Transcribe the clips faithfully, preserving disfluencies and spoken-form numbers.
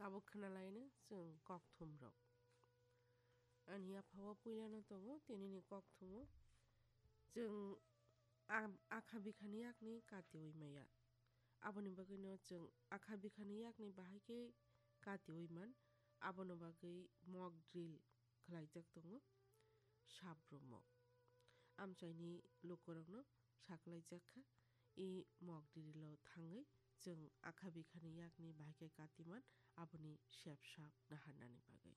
Tabuk khwnalaino chwng kokthumo. Ani yaphao puilano tongo tinini kokthumo. Chwng a-, akha bikhani yakni katiui maya. Aboni bagwino chwng akha bikhani yakni bahai khe katiui man. Abono bagwi mock drill khlaijak tongo sabrumo. Amchaini lukurokno saklaijak kha, i mock drill-o thangwi chwng akha bikhani yakni bahai khe katiman aboni sep sak naharnani bagwi.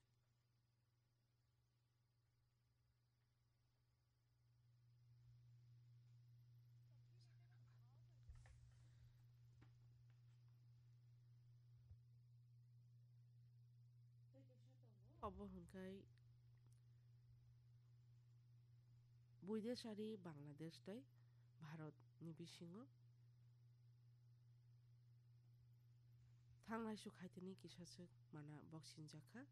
Obo hwnkhai Buidesari Bangladesh tei Bharat ni bisingo thanglaisu khaitini kisaswk mana boksinjakha,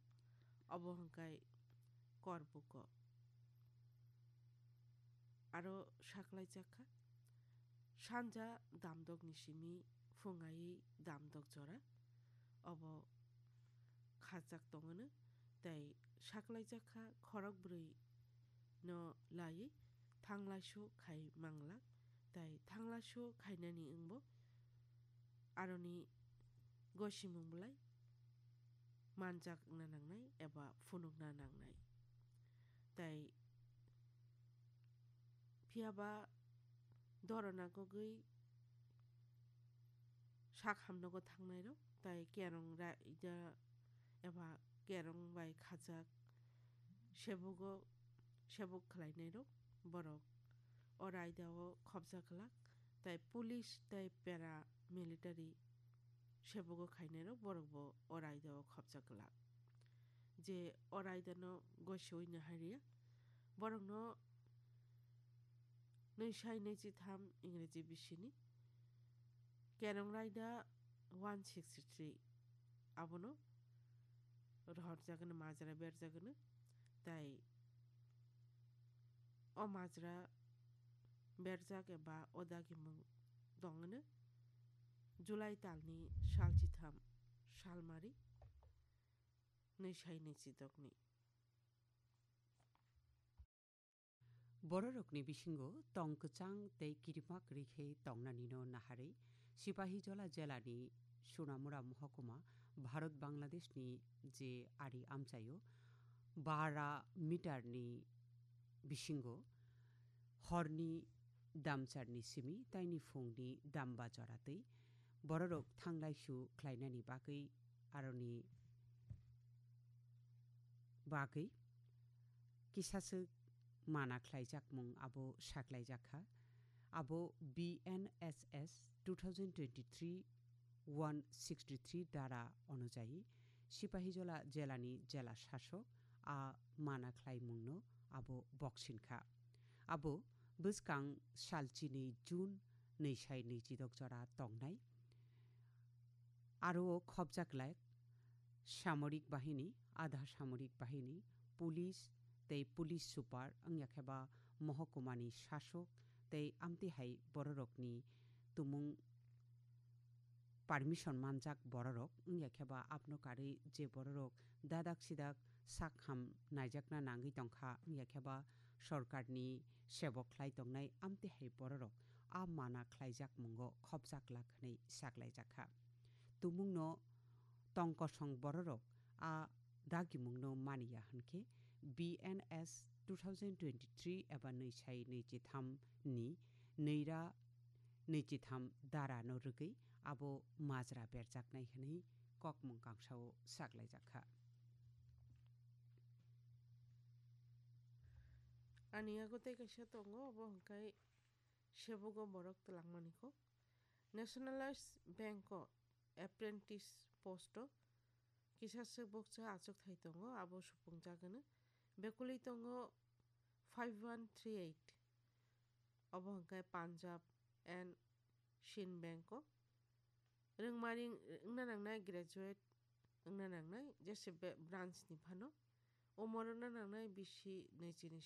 obo hwnkhai Korbuko. Aro saklaijakha, sanja damdokni simi phungai damdok jora, obo khajak tongwno, tei saklaijakha khorok bwrwi no laiwi thanglaisu khai manglak, tei thanglaisu khainani wngbo aroni gosimung belai manjakna nangnai eba phunukna nangnai. Tei phiyaba dorona kogwi sak hamnogo thangnairok, tei kerong raida eba kerong bai khajak sebugo, sebuk khlainairok borok o raidao khopjak glak, tei police tei para military sebugo khainairok borokbo o raidao khopjak glak. Je o raidano goisoui naharya, borokno nwi sai nwi chi tham Ingreji bisini kerong raida one sixty three abono rohorjagwno, majra berjagwno, tei o majra berjak eba o dagimung tongwno July talni sal chitham salmari nwi sai nwi chidokni. Bororokni bisingo tong kwchang tei kirima kwrwi khe tongnanino naharwi Sipahijola jelani Sonamura mohokuma Bharat Bangladeshni je ari amchaio bara meter ni bisingo horni damcharni simi taini phungni damba joratwi bororok thanglaisu khlainani bagwi aroni bagwi kisaswk mana khlaijakmung abo saklaijakha. Abo B N S S two thousand twenty-three one sixty-three dara onujayi Sipahijola jelani jela sasok a mana khlaimungno abo boksinkha. Abo bwskang sal chini June nwi sai nwi chidok jora tongnai. Aro o khopjak lak samorik bahini, adha samorik bahini, police tei police super wngya khe ba mohokumani sasok tei amtwi hai bororokni tumung permission manjak bororok wngya khe ba abno karwi je bororok dadak sidak sak ham naijakna nangwi tongkha wngya khe ba sorkarni sebok khlai tongnai amtwi hai bororok a mana khlaijak mungo khopjak lak hwnwi saklaijakha. Tumungno tong kosong bororok a dagimungno maniya hwnkhe B N S two thousand twenty-three eba nwi sai nwi chitham ni nwi ra nwi chitham dara no rwgwi abo majra berjaknai hwnwi kokmung kangsao saklaijakha. Ani yago tei kaisa tongo, obo hwnkhe sebugo borok twlangmani kok. Nationalized Bank o apprentice post o kisa swk bukcha achukthai tongo, abo supungjagwno. Bekuli tongo five one three eight, obo hwnkhe Punjab and Sindh Bank o. Rwngmari wngna nangnai, graduate wngna nangnai, jese be-, branch ni phano. Umor wngna nangnai bisi nwi chini